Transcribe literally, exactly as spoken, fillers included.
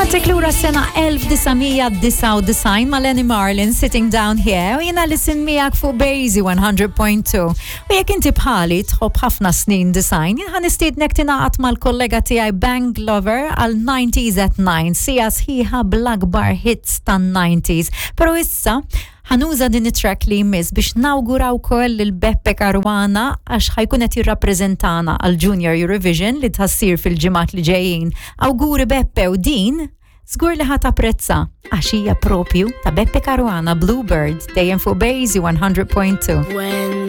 Nagħtik lura sena elf disa' mija disgħa u disgħin ma' Lenny Marlin, "Sitting Down Here", u jiena Alison miegħek fuq Basie one hundred point two. U jekk inti bħali tħobb ħafna snin disgħin, jien ħa nistiednek tingħaqad mal-kollega tiegħi Bank Lover għal nineties at nine, siegħa sħiħa bl-akbar hits tan-nineties. Pero issa ħa nuża din it-track li jmiss biex nawguraw ukoll lil Beppe Caruana, għax ħa jkun qed jirrappreżentana għal Junior Eurovision li tħassir fil-ġimgħat li ġejjin. Awguri Beppe, u din żgur li ħa tapprezza għax hija propju ta' Beppe Caruana, "Bluebird", dejjem fuq Basie one hundred point two. When